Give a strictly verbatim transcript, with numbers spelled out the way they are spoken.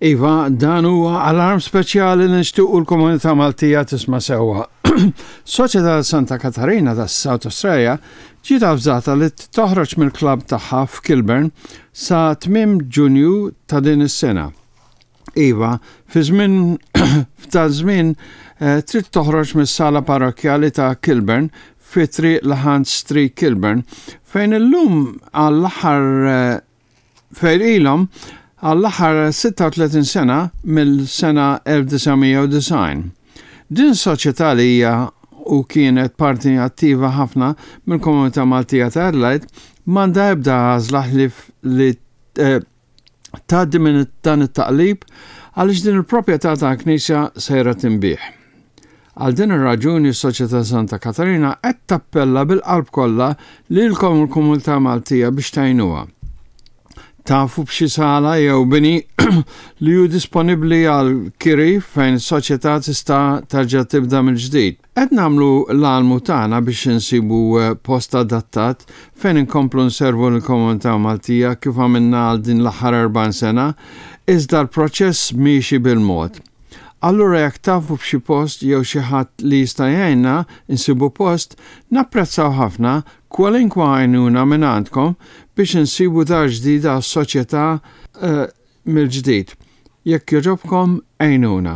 Iva, dan huwa alarm speċjali li nixtiequ l-komunità Maltija tisma' sewwa. Soċjetà Santa Katarina ta' South Australia ġiet avżata li toħroġ mill-klabb tagħha f'Kilburn sa tmiem Ġunju ta' din is-sena. Iva, fi żmien f'dan żmien eh, trid toħroġ mis-sala parrokkjali ta' Kilburn fi triq Hunt Street Kilburn fejn illum għall-aħħar eh, fejn ilhom għall-aħħar sitta u tletin sena mill-sena elf disa' mija u disgħin. Din soċjetà li hija u kienet parti attiva ħafna mill-komunità Maltija ta' Adelaide m'għandha ebda għażla li, li eh, tgħaddi minn dan it-taqlib għaliex din il-proprjetà ta' knisja sejra tinbiegħ. Għal din ir-raġuni s-Soċjetà Santa Katarina qed tappella bil-qalb kollha lilkom il-komunità Maltija biex tgħinuha. Tafu b'xi sala jew bini li hu disponibbli għal kiri fejn is-soċjetà tista' terġa' tibda mill-ġdid. Qed nagħmlu l-almu tagħna biex insibu eh, post adattat fejn inkomplu nservu l-komunità Maltija kif għamilna għal din l-aħħar erbgħin sena, iżda l-proċess miexi bil-mod. Allura jekk tafu b'xi post jew xi ħadd li jista' jgħinna insibu post, napprezzaw ħafna kwalinkwa għajnuna minn għandkom biex insibu dar ġdida għas-soċjetà uh, mill-ġdid. Jekk jogħġobkom, għinuna.